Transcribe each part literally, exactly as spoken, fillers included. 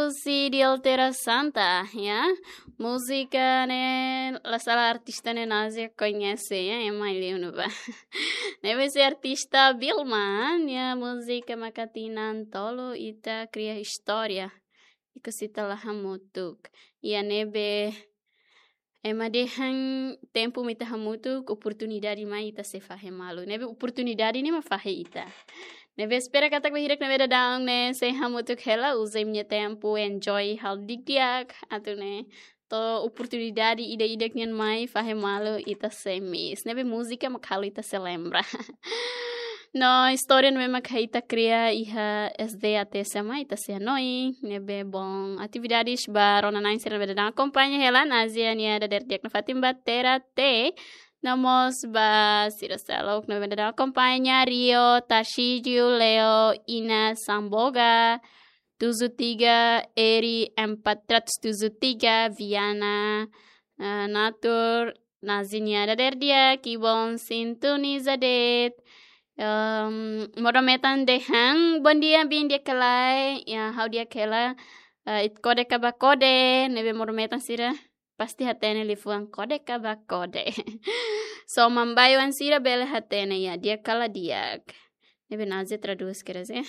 Husi Dioltera Santa, ya. Múzika ne'e, la sala artista ne'e Nazia koñese, ya, ema liu no ba. Ne'ebé husi artista Vilma, ya, múzika maka tinan tolu ita kria istória. Ikus ita la hamutuk. Ya, ne'ebé ema dehan tempu mak ita hamutuk, oportunidade mai ita sei fahe malu. Ne'ebé oportunidade ne'e mak fahe ita. Ne'ebé espera katak bainhira ne'ebé daudaun ne'e sei hamutuk hela, uza imi-nia tempu, enjoy halo di'ak-di'ak, atu nune'e to'o oportunidade ida-idak nian mai fahe malu ita sei miss. Ne'ebé múzika mak halo ita sei lembra. No istória ne'ebé mak ita kria iha S D A T S M ita sei hanoin, ne'ebé bom. Atividades ba rona-na'in sira ne'ebé daudaun akompaña hela, Nazia nia dadeer di'ak nafatin ba Terate. No mós ba sira seluk ne'ebé daudaun akompaña, Rio, Tarcísio, Leo, Ina, Samboga, tujuh tiga, Eri empat ratus tujuh tiga, Viana, eh, Natur, Nazia nia dadeer di'ak, Kibon, sintoniza de'it. Em, modo metan dehan, bom dia, bin di'ak ka lae, ya, ha'u di'ak hela, eh, ita kode ka ba kode, ne'ebé modo metan sira pasti hatene liafuan kode ka ba kode. So, maun-alin sira bele hatene, ya, di'ak ka la di'ak. Ne'ebé Nazia tradús, quer dizer.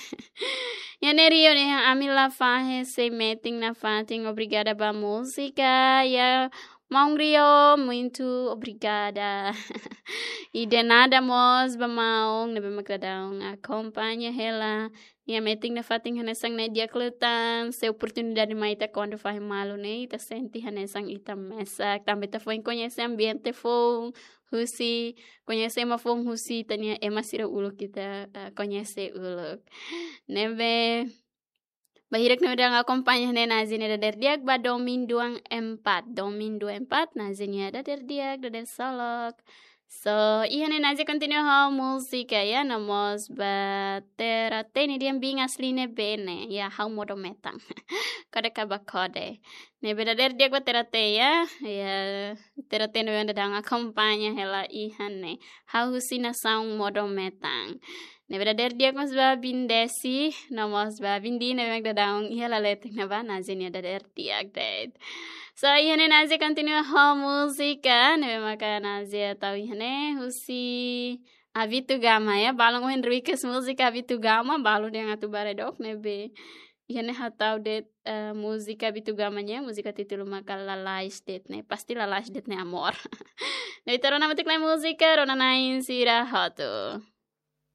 Ya, ne'e Rio ne'e, ami la fahe sei metin nafatin, obrigada ba múzika. Ya, maun Rio, muito obrigada. E de nada mós ba maun ne'ebé mak daudaun akompaña hela. Ya, metin nafatin hanesan ne'e di'ak liután, se oportunidade mai ita kuandu fahe malu ne'e, ita sente hanesan ita mesak, tanba ita foin koñese ambiente foun, husi, koñese ema foun husi ita-nia ema sira uluk ita, eh, koñese uluk. Ne'ebé, bainhira ne'ebé daudaun akompaña ne'e Nazia nia dadeer di'ak ba domin dua empat, domin dua empat, Nazia nia dadeer di'ak, dadeer solok. So, iha ne'e Nazia kontinua ho múzika, ya, no mós ba Terate nia dehan bin asli ne'ebé ne'e, ya, ha'u modo metan. Kode ka ba kode. Ne'ebé dadeer di'ak ba Terate, ya, ya, Terate ne'ebé daudaun akompaña hela iha ne'e. Ha'u husi nasaun modo metan. Ne'ebé dadeer di'ak mós ba bin Desi, no mós ba bin Di ne'ebé daudaun iha laletek ne'ebá, Nazia nia dadeer di'ak de'it. So, iha ne'e Nazia kontinua ho múzika, ne'ebé maka Nazia tau iha ne'e husi Avito Gama, ya, balun ohin request múzika Avito Gama, balun dehan atu bá redok, ne'ebé iha ne'e ha'u tau de'it, eh, múzika Avito Gama nian, múzika títulu maka Lalais De'it ne'e, pasti lalais de'it ne'e amor. Ne'ebé ita rona hamutuk lai múzika, rona-na'in sira hotu.